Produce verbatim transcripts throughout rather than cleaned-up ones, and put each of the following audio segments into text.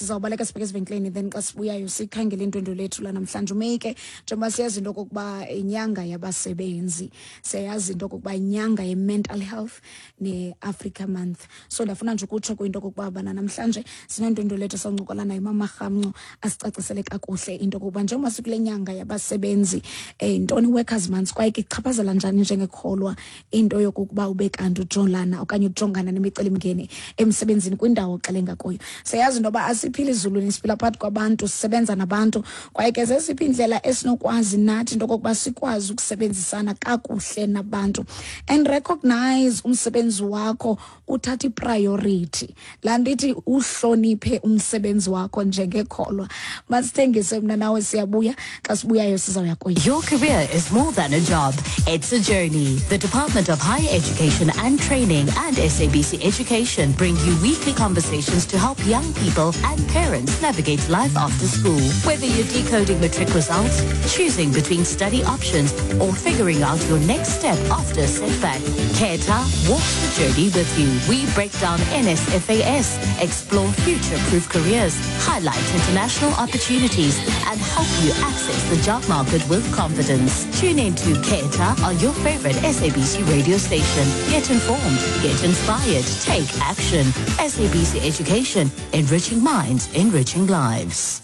Sizawubaleka sibheke ezivenkileni, then xa sibuyayo sikhangele indwendwe lethu lanamhlanje uMeyi ke. Njengoba siyazi into okokuba inyanga yabasebenzi, siyayazi into okokuba inyanga ye-mental health ne-Africa Month, so ndiyafuna nje ukutsho kwinto okokuba bana namhlanje sinendwendwe lethu esawuncokola nayo, Mama Rhamnco, asicacisele kakuhle into okokuba njengoba sikule nyanga yabasebenzi, um ntoni Workers Month, kwaye ke ichaphazela njani njengekholwa into yokokuba ube kanti ujolana okanye ujongana nemicelimngeni emsebenzini kwindawo oxelenga kuyo. Siyayazi into yoba asiphili ezulwini, siphila phakathi kwabantu, sisebenza nabantu, kwaye ke zeziphi iindlela esinokwazi nathi into okokuba sikwazi ukusebenzisana kakuhle nabantu and recognize umsebenzi wakho, uthathe ipriority, laa nto ithi uhloniphe umsebenzi wakho njengekholwa. Masithengise mna nawe, siyabuya. Xa sibuyayo sizawuya kuyo. Your career is more than a job. It's a journey. The Department of Higher Education and Training and S A B C Education bring you weekly conversations to help young people and parents navigate life after school. Whether you're decoding matric results, choosing between study options, or figuring out your next step after a setback, Khetha walks the journey with you. We break down N S F A S, explore future-proof careers, highlight international opportunities, and help you access the job market with confidence. Tune in to Khetha on your favorite S A B C radio station. Get informed, get inspired, take action. S A B C Education, enriching minds, enriching lives.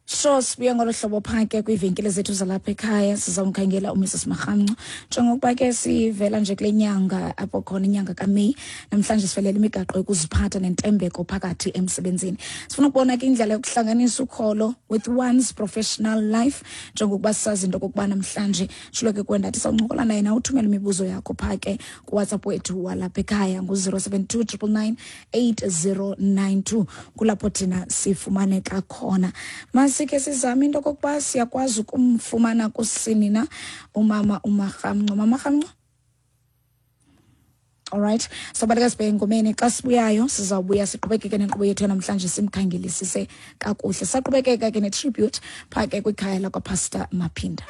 So sibuya ngolo hlobo phaa ke kwiivenkile zethu zalapha ekhaya. Sizawumkhangela uMrs Marhamnco njengokuba ke sivela nje kule nyanga apho khona inyanga kaMeyi. Namhlanje sifelela imigaqo yokuziphatha nentembeko phakathi emsebenzini. Sifuna ukubona ke indlela yokuhlanganisa ukholo with one's professional life, njengokuba sisazi into okokuba namhlanje tshilo ke kwendathi sawuncokola naye. Na uthumele imibuzo yakho phaa ke kuWhatsApp wethu walapha ekhaya ngu-zero seven two nine nine nine eight zero nine two, kulapho thina sifumaneka khona. Masike sizame into okokuba siyakwazi ukumfumana kusini na umama uMarhamnco, Mama Rhamnco. Alright, sobaleka sibheke engomeni. Xa sibuyayo sizawubuya siqhubekeke nenkqubo yethu yanamhlanje, simkhangelisise kakuhle, saqhubekeka ke ne-tribute phaa ke kwikhaya lakwaPastor Maphinda.